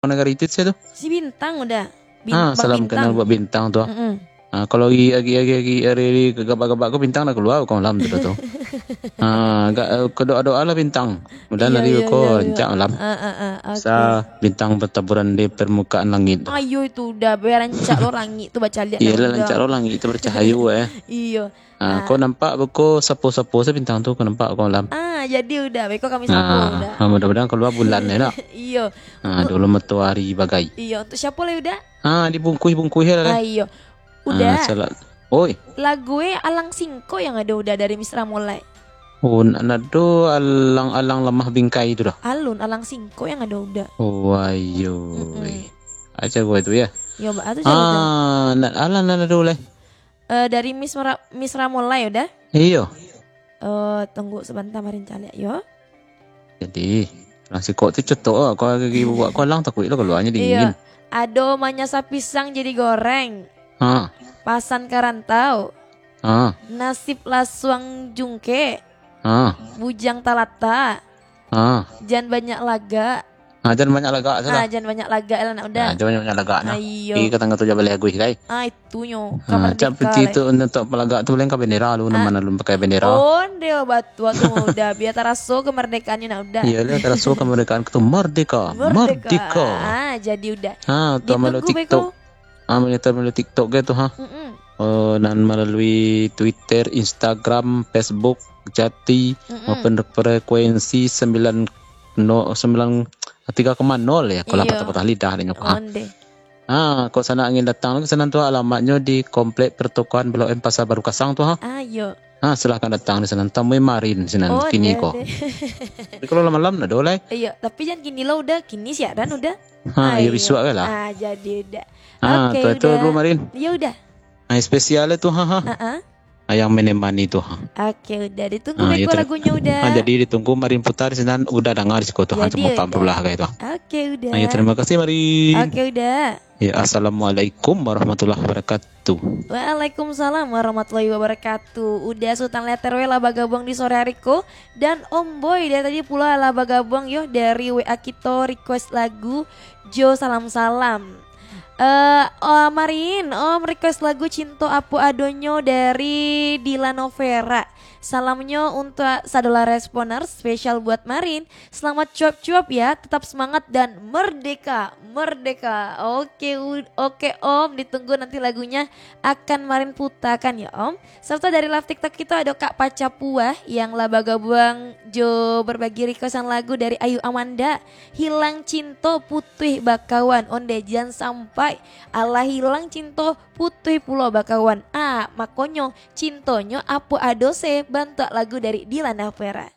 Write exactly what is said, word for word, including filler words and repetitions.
Nagari itu, sia tu? Si Bintang, Uda. Bin-, Ah, Bang salam Bintang. Kenal buat Bintang tu, ah. Mm-mm. Ah, kalau agi, agi, agi, agi, hari, hari gabak-gabak ko, Bintang dah kalua ko malam tu, dah tu. Ah, agak, eh, ka doa-doa lah Bintang. Mudahan Iyo, hari iyo, ko iyo, iyo. rancak malam. Ah, ah, ah, oke. Sa Bintang bertaburan di permukaan langit. Ayo itu, Uda, biar rancak lo langit tu bacaliak. Iyalah, dah, Uda. Rancak lo langit tu bercahayo, eh. Iyo. Ah, Ah. ko nampak beko sapo-sapo sa Bintang tu, ko nampak ko malam. Ah, jadi Uda, beko kami sapo, Ah, Uda. ah, mudah-mudahan kalua bulan, eh, nak. Iyo. Ah, dulu matahari bagai. Iyo, untuk siapo lai, Uda? Ah, dibungkuih-bungkuih lah, lai. Ah, iyo. Uda. Ah, salah. Oi. Lagu e Alang Singko yang ado, Uda, dari Misra Molai. Oh, nak nado alang-alang lamah bingkai tu dah. Alun, Alang Singko yang ado, Uda. Oh, ayo. Mm-mm. Aja gua itu ya. Yo, ba-, atu cari tahu. Ah, nak alang nak ado lai. Eh, dari Miss Mera-, Misra Molai, Uda. Iyo. Eh, tunggu sebentar, mari caliak yo. Jadi, Alang Singko tu cetok ah. Kau lagi buat kau alang, takuik lah kaluarnyo Iyo. dingin. Ado manyasa pisang jadi goreng. Ha. Pasan ka rantau. Ha. Nasib lasuang jungkek. Ha. Bujang talatak. Ha. Jan banyak lagak. Ha, jan banyak lagak tu Ah, lah. jan banyak lagak lah, nak Uda. Ha, jan banyak-banyak lagak nah. Ah, iyo. Pi ka tangga tu jan baleh aguih, kai. Ah, itunyo. Ha, Ka merdeka, cak peti lai. tu, untuk palagak tu, paling ka bendera lu, Ah. nama lu pakai bendera. Onde batua tu, Uda. Biar taraso kemerdekaannyo, nak Uda. Iyolah, taraso kemerdekaan tu. Merdeka. Merdeka. Merdeka. Ah, jadi Uda. Ha, tu malu Ditunggu beko. TikTok. Ah, monitor melalui TikTok ge tu, ha. Mm-mm. Oh, nan melalui Twitter, Instagram, Facebook, Jati, Mm-mm. maupun frekuensi sembilan no-, sembilan tiga koma nol ya, kalau Iyo. patah-patah lidah adanya, ha. Onde. Ah, kok sanak angin datang lagi, sanak tu alamatnyo di Komplek Pertokoan Blok M Pasar Baru Kasang tu, ha. Ah, iyo. Ah, silahkan datang di sana, tamui Marin sinan Oh, kini deh, ko. deh. Tapi kalau malam-malam nak ado lai. Iyo, tapi jan kini lo Uda, kini siaran Uda. Ha, Ah, iyo, iyo. bisuak lah. Ah, jadi Uda. Ah, Oke, tu, tu Uda. dulu, Marin. Iyo, Uda. Ah, spesial tu, ha, ha. Ha, ha. Ah, yang menemani tu, ha. Oke, Uda. Ditunggu Ah, iyo, beko ter-, lagunyo, Uda. ah, jadi ditunggu Marin putar sinan, Uda danga di siko tu, ha, Jadi, cuma Uda. empat belas kayak tu. Oke, Uda. Ah, iyo, terima kasih, Marin. Oke, Uda. Ya, assalamualaikum warahmatullahi wabarakatuh. Waalaikumsalam warahmatullahi wabarakatuh. Uda Sultan Letter weh lah bagabuang di sore hari ko. Dan Om Boy dari tadi pulo lah bagabuang yo dari W A kito request lagu jo salam-salam. Eh, oh, Marin, Om request lagu Cinto Apo Adonyo dari Dila Novera. Salamnyo untuak sadolah responer, spesial buat Marin. Selamat cuap-cuap ya, tetap semangat dan merdeka, merdeka. Oke, u-, oke Om, ditunggu nanti lagunya akan Marin putakan ya Om. Serta dari live TikTok kito ado Kak Paca Puah yang lah bagabuang jo berbagi requestan lagu dari Ayu Amanda, Hilang Cinto Putuih Bakawan. Onde jan sampai, alah hilang cinto putuih pulo bakawan. Ah, makonyo cintonyo apo ado se bantuak lagu dari Dila Novera.